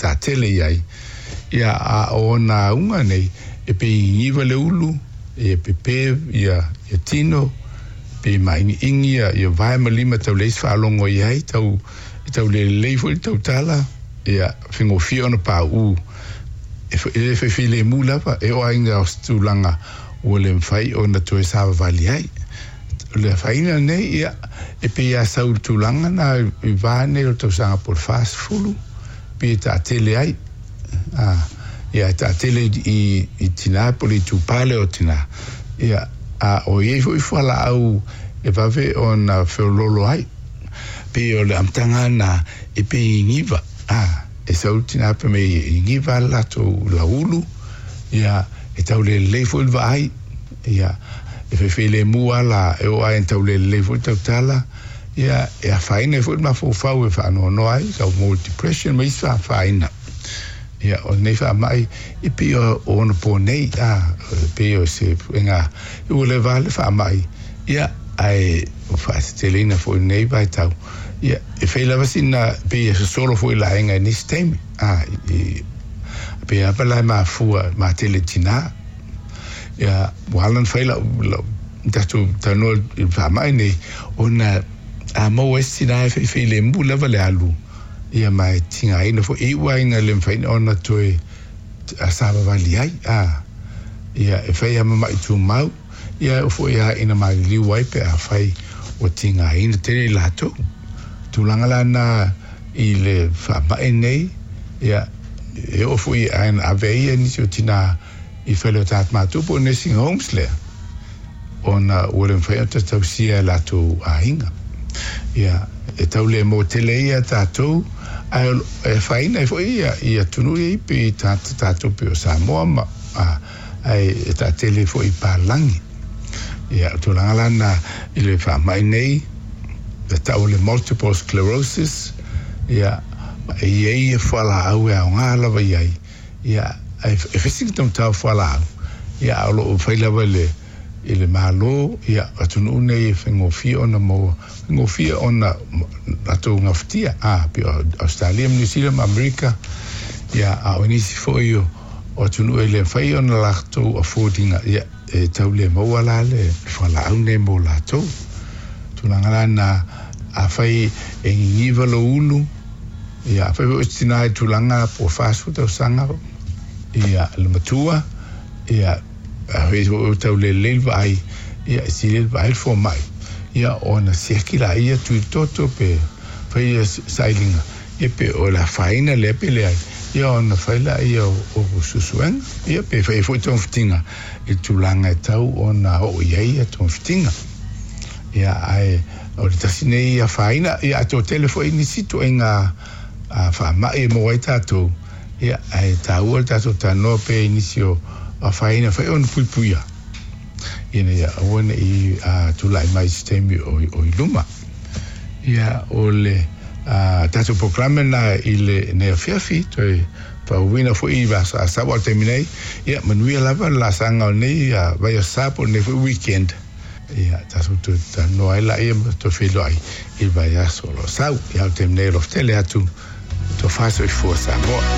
Taatele i ai, ia, a o ona auga nei, e pei e gigiva le ulu, e pepe ia tino, pei e māigiigi ia vae ma lima e tau leai se faalogo i ai, tau, e tau le lelei foi le tautala, ia, faigofie ona pauu. E, e le fai filemu lava, e oo lava ina o se tulaga ua le mafai ona toe savavali ai. O le afaina lenei, ia, e pei lava sau i le tulaga lena i va nei o le tausaga po o le 40, pei e taatele ai, a, ia, e taatele i, i tinā po o le itupa lea o tinā. Ia, a o i ai foi fualaau e vave ona feoloolo ai. Pei o le amataga lena e pei e gigiva, a, e sau le tinā fai mai e gigiva le latou lauulu, ia, e tau le lelei foi le vaai, ia, e faifeilemu lava la, e oo lava ina tau le lelei foi le tautala, ia, e afaina ai foi le mafaufau e faanoanoa ai, tau maua depression ma isi afaina. Ia, o lenei faamai, e pei o ona po nei, a, e pei o se puega, ua leva lava le faamai, ia, ae ua faateteleina foi i lenei vaitau, ia, e fai lava sina, pei e sosolo foi i le aiga i nisi taimi, a, i, pei lava la e mafua, matele i tinā. Ia, ua ala ona fai lau, lau, tatou talanoa i le faamai nei, ona a maua ai se tinā e feifeilemu lava le alu, ia ma e tigaina foi, e iu lava ina le mafai ona toe savavali ai, a, ia, e fai lava ma maʻi tumau, ia e oo foi lava ina maliliu ai pe afai ua tigaina tele i latou. Tulaga la na i le faamai nei, ia, e oo foi ina ave ai nisi o tinā i fale o tagata matutua po o nursing homes lea, ona ua le mafai ona tausia e latou aiga. Ia, e tau le mō tele ai ia tātou, ae e afaina ai foi ia, i atunuu ia i pei tagata tātou pei o Samoa ma, a, ae e taatele ai foi i palagi. Ia, o tulaga la na i le faamai nei, e tau o le multiple sclerosis, ia, e i ai ia fualaau e aoga lava i ai, Ia, e fai sina taumatau fualaau, ia, a o lo o fai lava i le, i le Malo, ia, atunuu nei e faigofie ona maua, faigofie ona latou gafatia, a, pei o Ausetalia ma Niu Sila ma Amerika, ia, a o nisi foi o, o atunuu e le mafai ona latou afford ina, ia, e tau le maua la le fualaau nei mo latou. Tulaga la na, afai e gigiva lou ulu, Ia, afai foi o se tina i tulaga po o 40 tausaga, ia, le matua, ia, afai foi ua tau lelei le vaai, ia, e sili ai le vaai le fomai, ia, ona siaki laia tui toto pe fai ia sailiga, ia, pe o le afaina lea pe leai, ia, ona fai laia o suesuega, ia, pe fai ai foi togafitiga i le tulaga e tau ona oo i ai ia togafitiga. Ia, ae O le tasi nei afaina, ia a toatele foi nisi ituaiga faamai e maua ai tatou, ia ae taua le tatou talanoa pea i nisi o afaina fai ona puipuia ina ia aua ne i tulai mai i se taimi o i luma. Ia o le tatou polokalame lena i lenei afiafi, toe faauuina foi i Asau o le taimi nei, ia manuia lava le laasaga o lenei vaiaso sa po o lenei foi weekend. Ia, tatou toe talanoa ai laia ma toe feiloai i le vaiaso o lo o sau. Ia, o le taimi nei, alofa tele atu, tofa soifua Samoa.